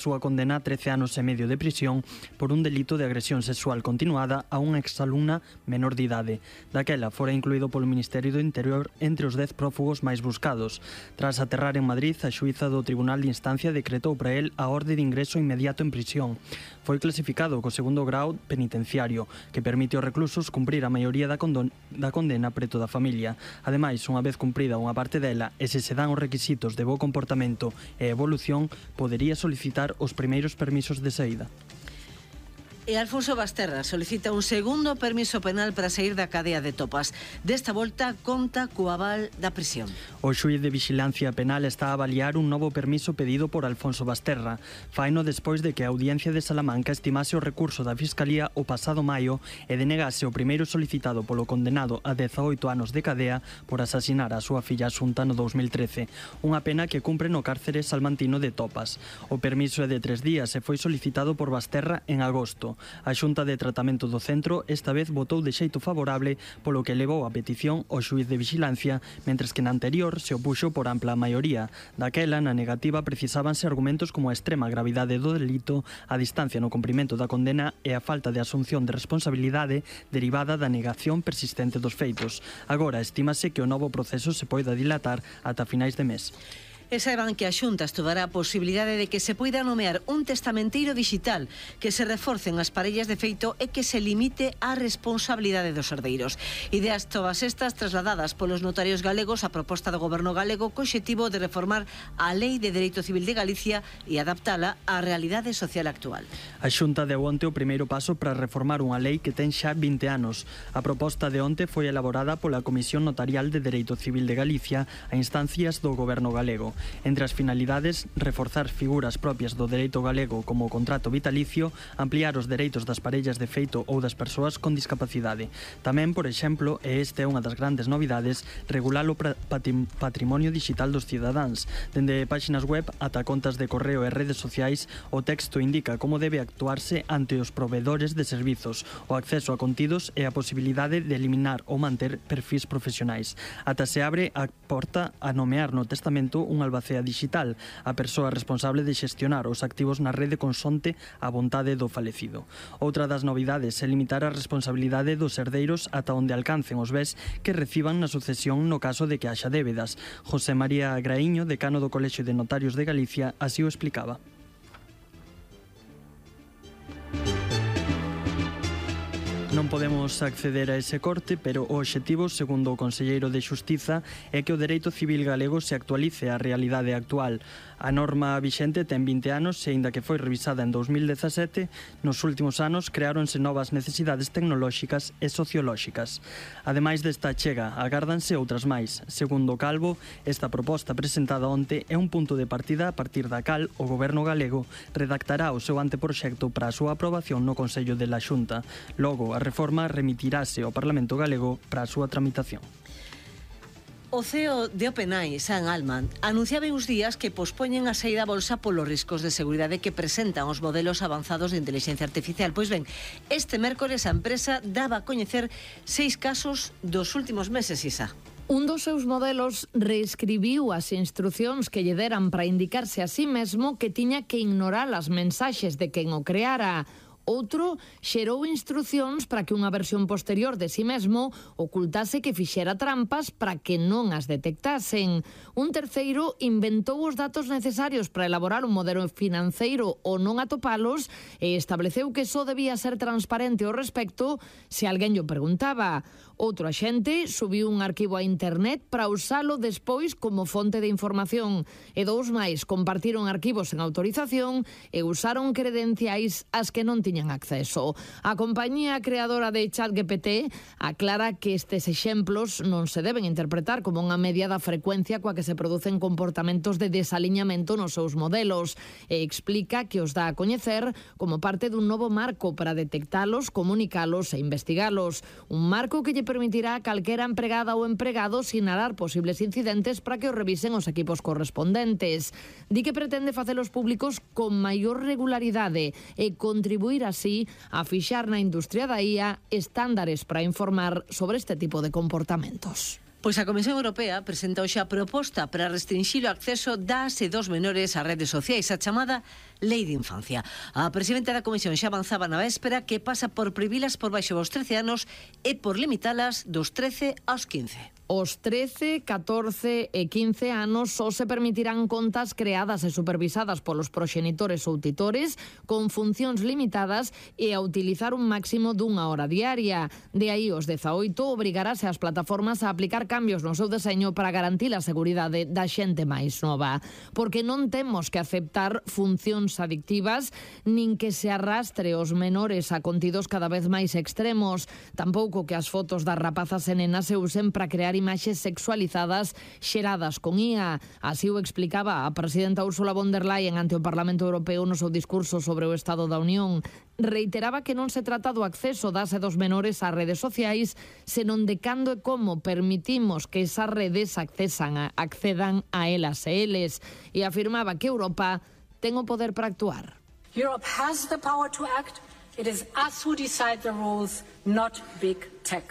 súa condena a 13 anos e medio de prisión por un delito de agresión sexual continuada a unha exalumna menor de idade. Daquela, fora incluído polo Ministerio do Interior entre os 10 prófugos máis buscados. Tras aterrar en Madrid, a xuíza do Tribunal de Instancia decretou para el a orde de ingreso inmediato en prisión. Foi clasificado co segundo grau penitenciario, que permite aos reclusos cumprir a maioría da condena preto da familia. Ademais, unha vez cumprida unha parte dela e se dan os requisitos de bo comportamento e evolución, podería solicitar os primeiros permisos de saída. E Alfonso Basterra solicita un segundo permiso penal para sair da cadea de Topas. Desta volta conta co aval da prisión. O xuíz de vixilancia penal está a avaliar un novo permiso pedido por Alfonso Basterra. Faino despois de que a Audiencia de Salamanca estimase o recurso da Fiscalía o pasado maio e denegase o primeiro solicitado polo condenado a 18 anos de cadea por asasinar a súa filla Asunta no 2013. Unha pena que cumpre no cárcere salmantino de Topas. O permiso é de 3 días e foi solicitado por Basterra en agosto. A Xunta de Tratamento do Centro esta vez votou de xeito favorable, polo que levou a petición ao xuíz de vixilancia, mentres que na anterior se opuxo por ampla maioría. Daquela, na negativa, precisábanse argumentos como a extrema gravidade do delito, a distancia no cumprimento da condena e a falta de asunción de responsabilidade derivada da negación persistente dos feitos. Agora, estímase que o novo proceso se poida dilatar ata finais de mes. E saiban que a Xunta estudará a posibilidade de que se poida nomear un testamenteiro digital, que se reforcen as parellas de feito e que se limite a responsabilidade dos herdeiros. Ideas todas estas trasladadas polos notarios galegos a proposta do Goberno galego co obxectivo de reformar a Lei de Dereito Civil de Galicia e adaptala á realidade social actual. A Xunta deu onte o primeiro paso para reformar unha lei que ten xa 20 anos. A proposta de onte foi elaborada pola Comisión Notarial de Dereito Civil de Galicia a instancias do Goberno galego. Entre as finalidades, reforzar figuras propias do dereito galego como o contrato vitalicio, ampliar os dereitos das parellas de feito ou das persoas con discapacidade. Tamén, por exemplo, e esta é unha das grandes novidades, regular o patrimonio digital dos cidadáns. Dende páxinas web ata contas de correo e redes sociais, o texto indica como debe actuarse ante os provedores de servizos, o acceso a contidos e a posibilidade de eliminar ou manter perfis profesionais. Ata se abre a porta a nomear no testamento un albacea digital, a persoa responsable de xestionar os activos na rede consonte a vontade do falecido. Outra das novidades é limitar a responsabilidade dos herdeiros ata onde alcancen os bens que reciban na sucesión no caso de que haxa débedas. José María Graíño, decano do Colexio de Notarios de Galicia, así o explicaba. Non podemos acceder a ese corte, pero o obxectivo, segundo o conselleiro de Xustiza, é que o dereito civil galego se actualice á realidade actual. A norma vixente ten 20 anos e, aínda que foi revisada en 2017, nos últimos anos creáronse novas necesidades tecnolóxicas e sociolóxicas. Ademais desta chega, agárdanse outras máis. Segundo Calvo, esta proposta presentada onte é un punto de partida a partir da cal o Goberno galego redactará o seu anteproxecto para a súa aprobación no Consello de la Xunta. Logo, a reforma remitirase ao Parlamento galego para a súa tramitación. O CEO de OpenAI, Sam Altman, anunciaba uns días que pospoñen a saída a bolsa polos riscos de seguridade que presentan os modelos avanzados de inteligencia artificial. Pois ben, este mércores a empresa daba a coñecer 6 casos dos últimos meses, Isa. Un dos seus modelos reescribiu as instrucións que lle deran para indicarse a sí mesmo que tiña que ignorar as mensaxes de quen o creara. Outro xerou instrucións para que unha versión posterior de si mesmo ocultase que fixera trampas para que non as detectasen. Un terceiro inventou os datos necesarios para elaborar un modelo financeiro ou non atopalos e estableceu que só debía ser transparente ao respecto se alguén llo preguntaba. Outro axente subiu un arquivo a internet para usalo despois como fonte de información e 2 máis compartiron arquivos sen autorización e usaron credenciais ás que non tiñan acceso. A compañía creadora de ChatGPT aclara que estes exemplos non se deben interpretar como unha media da frecuencia coa que se producen comportamentos de desaliñamento nos seus modelos e explica que os dá a coñecer como parte dun novo marco para detectalos, comunicalos e investigalos. Un marco que lle permitirá a calquera empregada ou empregado sinalar posibles incidentes para que os revisen os equipos correspondentes. Di que pretende facelos públicos con maior regularidade e contribuir así a fixar na industria da IA estándares para informar sobre este tipo de comportamentos. Pois a Comisión Europea presenta hoxe a proposta para restringir o acceso das e dos menores ás redes sociais, a chamada Lei de Infancia. A presidenta da Comisión xa avanzaba na véspera que pasa por prohibilas por baixo dos 13 anos e por limitalas dos 13 aos 15. Os 13, 14 e 15 anos só se permitirán contas creadas e supervisadas polos proxenitores ou titores con funcións limitadas e a utilizar un máximo dunha hora diaria. De aí os 18 obrigarase as plataformas a aplicar cambios no seu deseño para garantir a seguridade da xente máis nova. Porque non temos que aceptar funcións adictivas nin que se arrastre os menores a contidos cada vez máis extremos. Tampouco que as fotos das rapazas e nenas se usen para crear imaxes sexualizadas xeradas con IA. Así o explicaba a presidenta Ursula von der Leyen ante o Parlamento Europeo no seu discurso sobre o Estado da Unión. Reiteraba que non se trata do acceso das e dos menores ás redes sociais, senón de cando e como permitimos que esas redes accedan a elas e eles. E afirmaba que Europa ten o poder para actuar. Europe has the power to act. It is us who decide the rules, not big tech.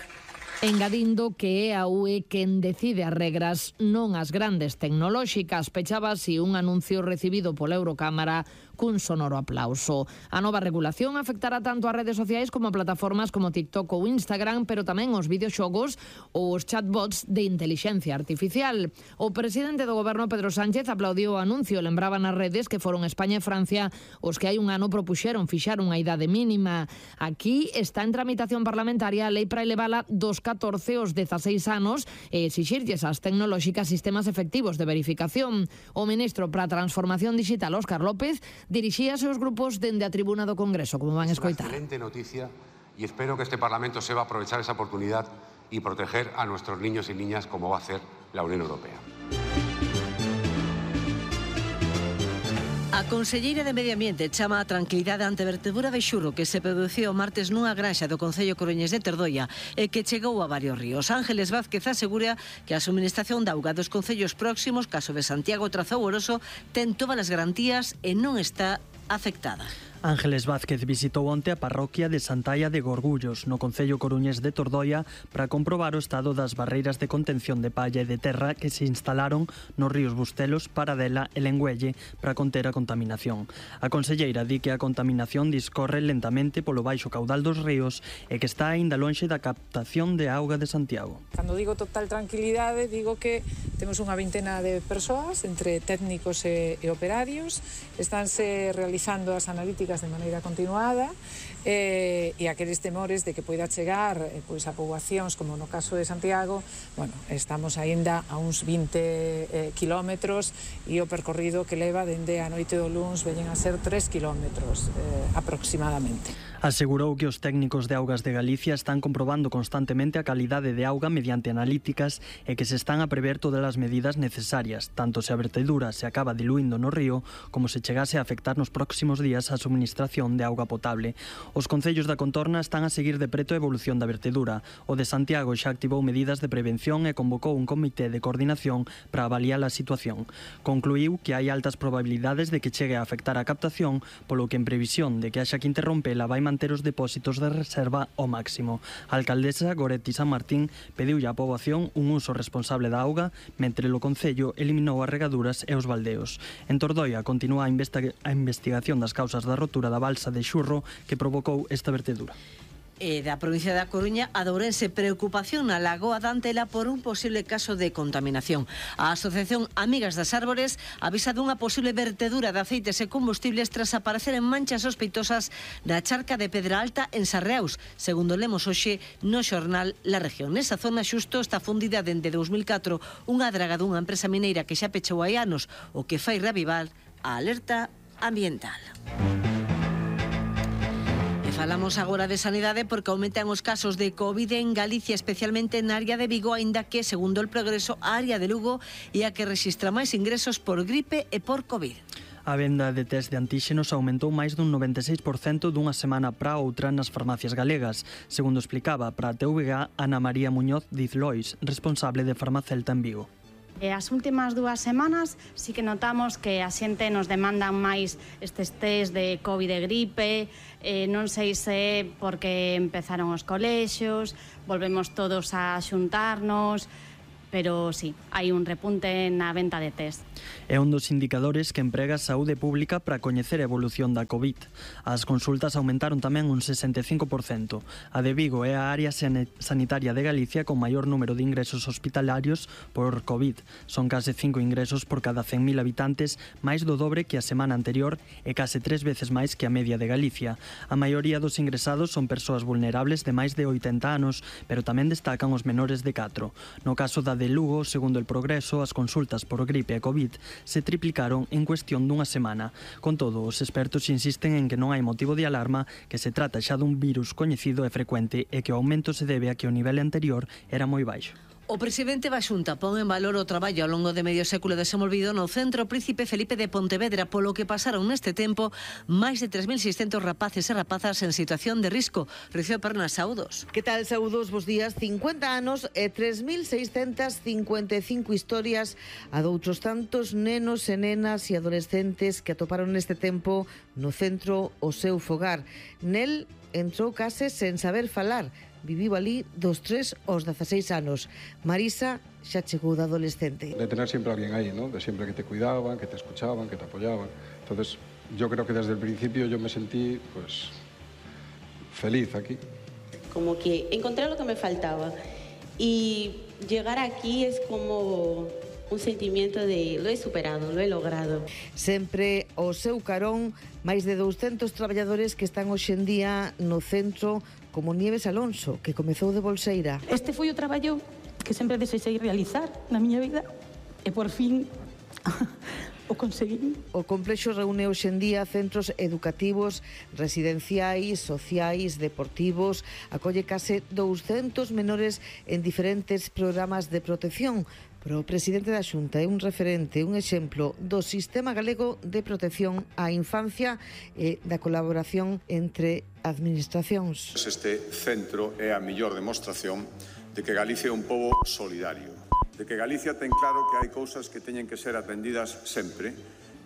Engadindo que é a UE quen decide as regras, non as grandes tecnolóxicas. Pechaba así un anuncio recibido pola Eurocámara cun sonoro aplauso. A nova regulación afectará tanto as redes sociais como a plataformas como TikTok ou Instagram, pero tamén os videoxogos ou os chatbots de intelixencia artificial. O presidente do goberno, Pedro Sánchez, aplaudiu o anuncio. Lembraba nas redes que foron España e Francia os que hai un ano propuxeron fixar unha idade mínima. Aquí está en tramitación parlamentaria a lei para elevala dos 14 aos 16 anos e exixirlles ás tecnolóxicas sistemas efectivos de verificación. O ministro para a Transformación Digital, Óscar López, dirixíase aos grupos dende a tribuna do Congreso, como van escoitar. Es una excelente noticia y espero que este Parlamento sepa aprovechar esa oportunidad y proteger a nuestros niños y niñas como va a hacer la Unión Europea. A conselleira de Medio Ambiente chama a tranquilidade ante a vertedura de xurro que se produciu o martes nunha granxa do concello coruñés de Tordoia e que chegou a varios ríos. Ángeles Vázquez asegura que a suministración de auga dos concellos próximos, caso de Santiago Trazou Oroso, ten todas as garantías e non está afectada. Ángeles Vázquez visitou onte a parroquia de Santaia de Gorgullos, no concello coruñés de Tordoia, para comprobar o estado das barreiras de contención de palla e de terra que se instalaron nos ríos Bustelos, Paradela e Lengüelle para conter a contaminación. A conselleira di que a contaminación discorre lentamente polo baixo caudal dos ríos e que está aínda lonxe da captación de auga de Santiago. Cando digo total tranquilidade, digo que temos unha vintena de persoas, entre técnicos e operarios, estánse realizando as analíticas de maneira continuada e aqueles temores de que poida chegar pois a poboacións como no caso de Santiago, bueno, estamos aínda a uns 20 kilómetros e o percorrido que leva dende a noite do luns veñen a ser 3 kilómetros aproximadamente. Asegurou que os técnicos de Augas de Galicia están comprobando constantemente a calidade de auga mediante analíticas e que se están a prever todas as medidas necesarias, tanto se a vertedura se acaba diluindo no río como se chegase a afectar nos próximos días a suministración de auga potable. Os concellos da contorna están a seguir de preto a evolución da vertedura. O de Santiago xa activou medidas de prevención e convocou un comité de coordinación para avaliar a situación. Concluiu que hai altas probabilidades de que chegue a afectar a captación, polo que en previsión de que haxa que interrompela vai manter os depósitos de reserva ao máximo. A alcaldesa Goretti San Martín pediulle á poboación un uso responsable da auga, mentre o concello eliminou as regaduras e os baldeos. En Tordoia continúa a investigación das causas da rotura da balsa de xurro que provocou esta vertedura. E da provincia da Coruña, a de Ourense, preocupación na lagoa da Antela por un posible caso de contaminación. A Asociación Amigas das Árbores avisa dunha posible vertedura de aceites e combustibles tras aparecer en manchas sospeitosas na charca de Pedra Alta en Sarreaus, segundo lemos hoxe no xornal La Región. Nesa zona xusto está fundida dende 2004 unha draga dunha empresa mineira que xa pechou hai anos, o que fai reavivar a alerta ambiental. Falamos agora de sanidade porque aumentan os casos de Covid en Galicia, especialmente na área de Vigo, aínda que, segundo el Progreso, a área de Lugo é a que rexistra máis ingresos por gripe e por Covid. A venda de test de antíxenos aumentou máis dun 96% dunha semana para outra nas farmacias galegas, segundo explicaba para a TVG Ana María Muñoz Diz Lois, responsable de Farmacelta en Vigo. As últimas 2 semanas sí que notamos que a xente nos demandan máis estes test de Covid e gripe, non sei se porque empezaron os colexios, volvemos todos a xuntarnos, pero sí, hai un repunte na venta de test. É un dos indicadores que emprega a Saúde Pública para coñecer a evolución da COVID. As consultas aumentaron tamén un 65%. A de Vigo é a área sanitaria de Galicia con maior número de ingresos hospitalarios por COVID. Son case 5 ingresos por cada 100.000 habitantes, máis do dobre que a semana anterior e case 3 veces máis que a media de Galicia. A maioría dos ingresados son persoas vulnerables de máis de 80 anos, pero tamén destacan os menores de 4. No caso da de Lugo, segundo el Progreso, as consultas por gripe e COVID se triplicaron en cuestión dunha semana. Con todo, os expertos insisten en que non hai motivo de alarma, que se trata xa dun virus coñecido e frecuente e que o aumento se debe a que o nivel anterior era moi baixo. O presidente da Xunta pon en valor o traballo ao longo de medio século desenvolvido no Centro Príncipe Felipe de Pontevedra, polo que pasaron neste tempo máis de 3.600 rapaces e rapazas en situación de risco. Rocío Pernas, saúdos. Que tal, saúdos, bos días. 50 anos e 3.655 historias a doutros tantos nenos e nenas e adolescentes que atoparon neste tempo no centro o seu fogar. Nel entrou case sen saber falar. Viviu ali dos 3 aos 16 anos. Marisa xa chegou de adolescente. De tener siempre a alguien ahí, ¿no? De siempre que te cuidaban, que te escuchaban, que te apoyaban. Entonces, yo creo que desde el principio yo me sentí, pues, feliz aquí. Como que encontré lo que me faltaba. Y llegar aquí es como un sentimiento de lo he superado, lo he logrado. Sempre ao seu carón, máis de 200 traballadores que están hoxe en día no centro, como Nieves Alonso, que comezou de bolseira. Este foi o traballo que sempre desexei realizar na miña vida e por fin o conseguí. O complexo reúne hoxe en día centros educativos, residenciais, sociais, deportivos, acolle case 200 menores en diferentes programas de protección. Pero o presidente da Xunta é un referente, un exemplo do sistema galego de protección á infancia e da colaboración entre administracións. Este centro é a mellor demostración de que Galicia é un pobo solidario, de que Galicia ten claro que hai cousas que teñen que ser atendidas sempre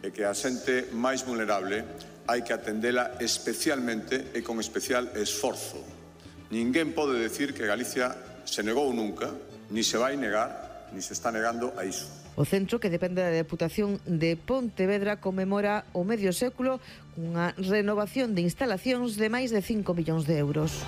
e que a xente máis vulnerable hai que atendela especialmente e con especial esforzo. Ninguén pode decir que Galicia se negou nunca, ni se vai negar, ni se está negando a iso. O centro, que depende da Deputación de Pontevedra, conmemora o medio século cunha renovación de instalacións de máis de 5 millóns de euros.